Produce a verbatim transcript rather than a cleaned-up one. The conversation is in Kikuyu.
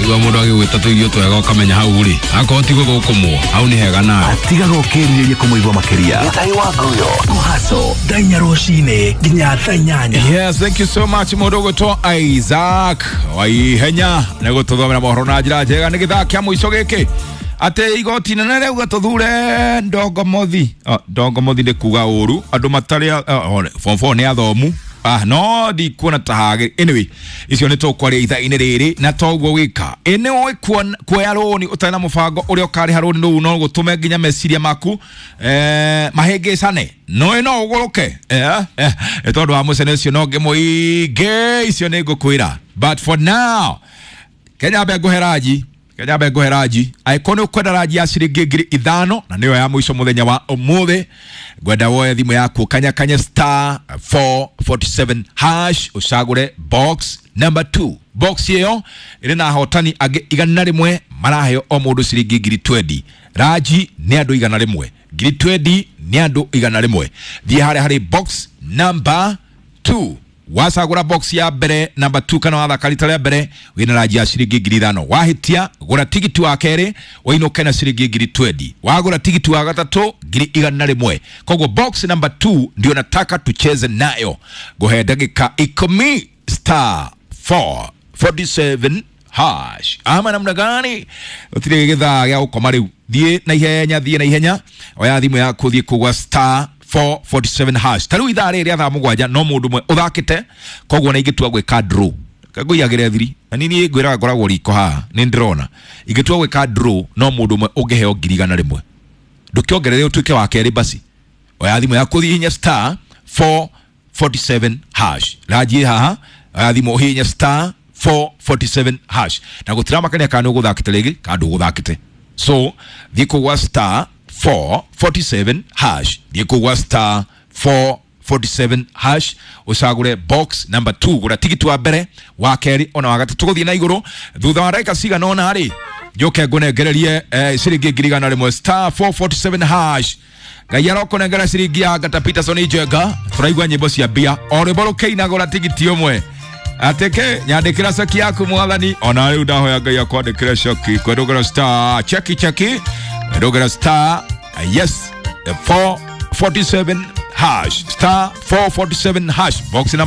Waigua mũndũ agĩgwĩta tũirio twega ũkamenya hau rĩ akorwo ti gũthũkũmwo hau nĩ hega nawe. Tigaga ũkĩrirĩria kũmũigua makĩria. Gĩtahi wa Nguyo. Kũhaco thaa inya rũcinĩ nginya thaa inyanya. Yes, thank you so much mũndũ ũgwĩtwo Isaac Waihenya nĩ gũtũthomera mohoro na njĩra njega. Nĩ gĩthaa kĩa mũico gĩkĩ atĩ igoti nene rĩauga tũthure Ndongomothi. Oh, Ndongomothi nĩ kuga ũru andũ matarĩ oh, form four nĩ athomu. Ah, no ndikuona ta hagĩ. Anyway, icio nĩ tũkwaria ithaa-inĩ rĩrĩ na toguo gwĩka. Ĩ nĩ ũĩ kuoya rũni ũtarĩ na mũbango ũrĩa ũkarĩha rũni rũu no gũtũme nginya meciria maku eh, mahĩngĩcane. No no ũgũrũke eh, eh, tondũ wa mũcene ũcio no ngĩmũingĩ icio nĩ ngũkwĩra. But for now, Kenya mbe ngũhe ranji. Kenya mbe ngũhe ranji. Angĩkorwo nĩ ũkwenda ranji ya ciringi ngiri ithano na nĩyo ya mũico mũthenya wa ũmũthĩ, ngwenda woe thimũ yaku kanyakanye star four forty-seven hash ũcagũre box number two. Box ĩyo ĩrĩ na ahotani angĩ igana rĩmwe maraheo o mũndũ ciringi ngiri twenty. Ranji nĩ andũ igana rĩmwe, ngiri twenty nĩ andũ igana rĩmwe. Thiĩ harĩa harĩ box number two. Wacagũra box ya mbere number two kana wathaka rita rĩa mbere wĩna ranji ya ciringi ngiri ithano. Wahĩtia gũra tigiti wa kerĩ ũinũke na ciringi ngiri twenty. Wagũra tigiti wa gatatũ ngiri igana rĩmwe. Koguo box number two ndio nataka tucheze nayo. Ngũhe ndagĩka ikũmi star four forty-seven hash. Ama namna gani? Gũtirĩ gĩthaa gĩa gũkoma rĩu. Thiĩ na ihenya, thiĩ na ihenya. Oya thimũ yaku thiĩ kũgwa star four forty-seven hash. Ta rĩu ithaa rĩrĩ rĩa thaa mũgwanja no mũndũ ũmwe ũthakĩte, koguo na ingĩtua gwĩka draw ngũiyagĩre thiri na niĩ ngwĩraga ngoragwo riko haha nĩ ndĩrona ingĩtua gwĩka draw no mũndũ ũmwe ũngĩheo ngiri igana rĩmwe. Ndũkĩongerere ũtuĩke wa kerĩ basi. Oya thimũ yaku ũthiĩ hinya star four forty-seven hash. Ranji haha, oya thimũ ũhihinye star four forty-seven hash. Na gũtiramakania kana nĩ ũgũthakĩte rĩngĩ kana ndũgũthakĩte. So thiĩ kũgwa star four forty-seven hash. Thiĩ kũgwa star four forty-seven hash ũcagũre box number two. Gũra tigiti wa mbere wa kerĩ ona wa gatatũ gũthiĩ na igũrũ. Thutha wa ndagĩka cigana ũna rĩ njoke ngũnengererie eh, ciringi ngiri igana rĩmwe star four forty-seven hash. Ngai arokũnengera ciringi ya Ngata Peterson Njenga. Tũraigua nyĩmbo cia mbia o rwĩmbo rũkĩina gũra tigiti ũmwe. Ateke nyandĩkĩra ceki yaku mwathani. Ona rĩu ndahoya Ngai akwandĩkĩre ceki. Kwendũgĩra star cheki cheki kwendũgĩra star yes four forty-seven hash star four forty-seven hash box number